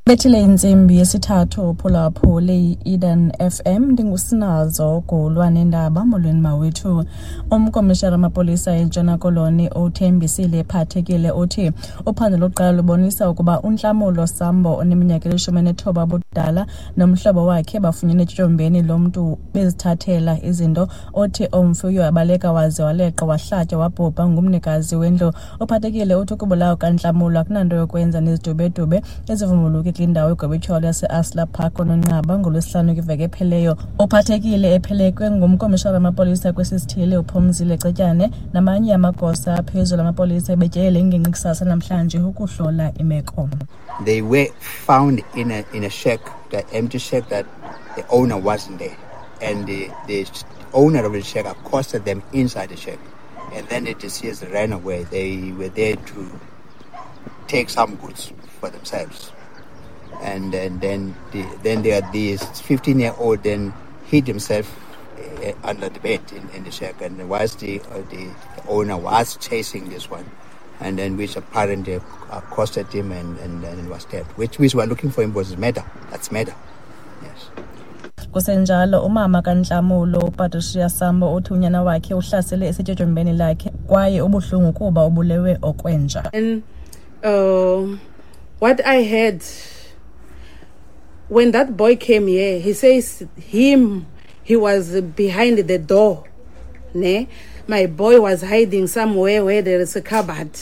Bethile intsimbi yesithathu uphulaphule i-Eden FM. Ndingusinazo Gulwa nendaba. Molweni mawethu. Umkomishara wamapolisa eNtshona Koloni uThembisile Phathekile uthi uphando lokuqala lubonisa ukuba uNhlamulo Sambo oneminyaka eli-19 ubudala nomhlobo wakhe bafunyenwe etyotyombeni lomntu bezithathela izinto. Othi umfi uye wabaleka waze waleqa wahlatywa wabhubha ngumnikazi wendlu. UPhathekile uthi ukubulawa kukaNhlamulo akunanto yokwenza nezidubedube ezivumbuluke kwindawo egwebetyholo yase-Asla Park koNonqaba ngoLwesihlanu kwiveki ephelileyo. Uphathekile ephelekwe ngumkomishara wamapolisa kwesi sithili uPhumzile Cetyane namanye amagosa aphezulu amapolisa ebetyelele ingingqi kusasa namhlanje ukuhlola imeko. They were found in a shack, the empty shack that the owner wasn't there. And the owner of the shack accosted them inside the shack. And then the deceased ran away. They were there to take some goods for themselves. And then there this 15-year-old then hid himself under the bed in the shack, and whilst the owner was chasing this one, and then which apparently accosted him and was stabbed, which we were looking for him was murder. That's murder. Yes. Kusenjalo, umama kaNhlamulo uPatricia Sambo uthi unyana wakhe uhlasele esetyotyombeni lakhe kwaye ubuhlungu kuba ubulewe okwenja. And what I heard when that boy came here, he says him, he was behind the door. Ne? My boy was hiding somewhere where there is a cupboard.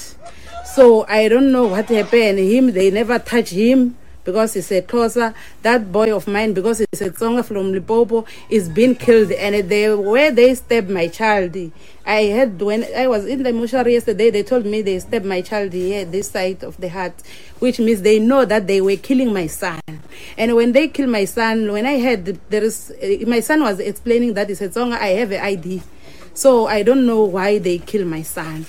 So I don't know what happened. Him, they never touch him because he's a Xhosa. That boy of mine, because he's a Tsonga from Limpopo, is being killed. And they, where they stabbed my child, I heard when I was in the mortuary yesterday, they told me they stabbed my child here, this side of the heart, which means they know that they were killing my son. And when they killed my son, when I heard there is, my son was explaining that he said, Tsonga, I have an ID. So I don't know why they kill my son.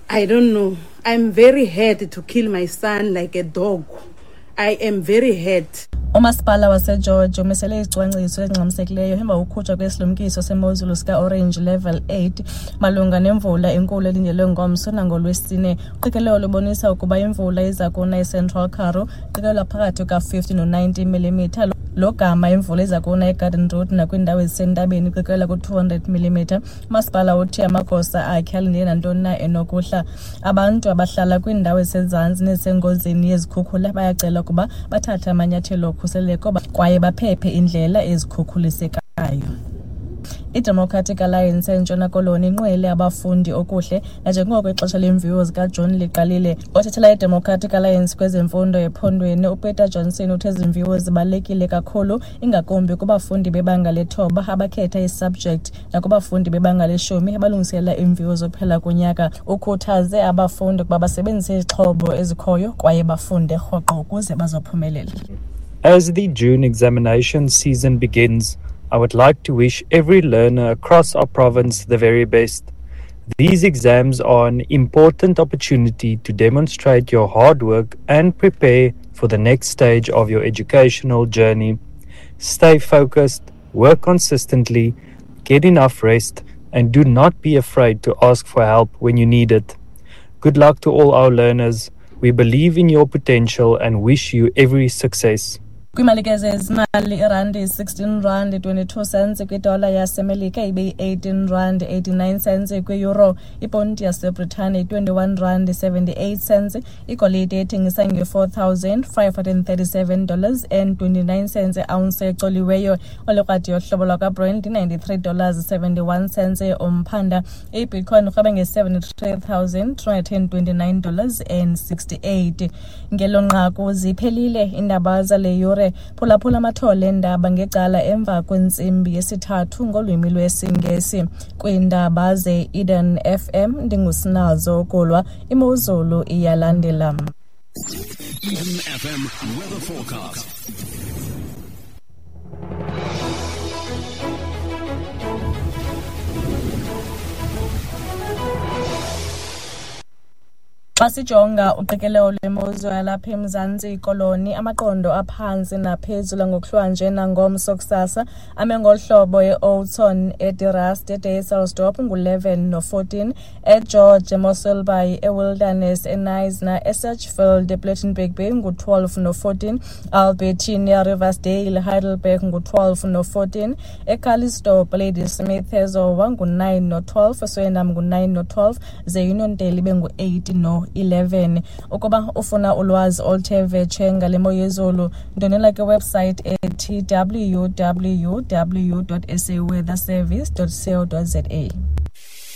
I don't know. I'm very hurt to kill my son like a dog. I am very hurt. Umasipala waseGeorge umisele izicwangciso ezingxamisekileyo emva kokukhutshwa kwesilumkiso semozulu sika-Orange Level 8 malunga nemvula enkulu elindelwe ngomso nangoLwesine. Uqikelelo lubonisa ukuba imvula iza kuna eCentral Karoo qikelelwa phakathi kuka-50 no-90 mm, logama imvula iza kuna eGarden Route nakwiindawo ezisentabeni iqikelelwa ku-200 mm. Umasipala uthi amagosa akhe alindele nantoni na enokuhla. Abantu abahlala kwiindawo ezisezantsi nezisengozini yezikhukhula bayacelwa ukuba bathathe amanyathelo okhuseleko kwaye baphephe iindlela ezikhukhulisekayo. IDemocratic Alliance eNtshona Koloni inqwele abafundi okuhle nanjengoko ixesha leemviwo zikaJuni liqalile. Othethela iDemocratic Alliance kwezemfundo ephondweni uPeter Johnson uthe ezi mviwo zibalulekile kakhulu, ingakumbi kubafundi bebanga lethoba abakhetha isubject nakubafundi bebanga leshumi abalungiselela iimviwo zokuphela konyaka. Ukhuthaze abafundi ukuba basebenzise izixhobo ezikhoyo kwaye bafunde rhoqo ukuze bazophumelela. As the June examination season begins, I would like to wish every learner across our province the very best. These exams are an important opportunity to demonstrate your hard work and prepare for the next stage of your educational journey. Stay focused, work consistently, get enough rest, and do not be afraid to ask for help when you need it. Good luck to all our learners. We believe in your potential and wish you every success. Kwiimalike zezimali, irandi yi-16 rand 22 cents kwidola yaseMelika, ibe yi-18 rand 89 cents kwi-euro. Iponti yaseBritane yi-21 rand 78 cents. Igolide ethengisa nge-$4,537 dollars and 29 cents iounce ecoliweyo. Olikrwada yohlobo lwakwaBrent i-$93 71 cents umphanda. IBitcoin irhweba nge-$73,329 dollars and 68. Ngelo nqaku ziphelile iindaba zale yure. Phulaphula amathole eendaba ngecala emva kwentsimbi yesithathu ngolwimi lwesiNgesi. Kwiindaba ze-Eden FM ndingusinazo Kulwa. Imozulu iyalandela. Eden FM weather forecast. Xa sijonga uqikelelo lwemozulu yalapha eMzantsi Koloni, amaqondo aphantsi naphezulu ngokuhlwanje nangomso kusasa ame ngolu hlobo: eOudtshoorn, eDe Rust, eDysselsdorp ngu-11 no-14, eGeorge, eMossel Bay, eWilderness, eKnysna, eSedgefield, ePlettenberg Bay ngu-12 no-14, Albertina, Riversdale, Heidelberg ngu-12 no-14, eCalitzdorp, Ladysmith, eZowa ngu-9 no-12, eSwellendam ngu-9 no-12, ze Uniondale ibe ngu-8 no-11. Ukuba ufuna ulwazi oluthe vetshe ngale mo yezulu, ndwendwela kwiwebsite ethi www.saweatherservice.co.za.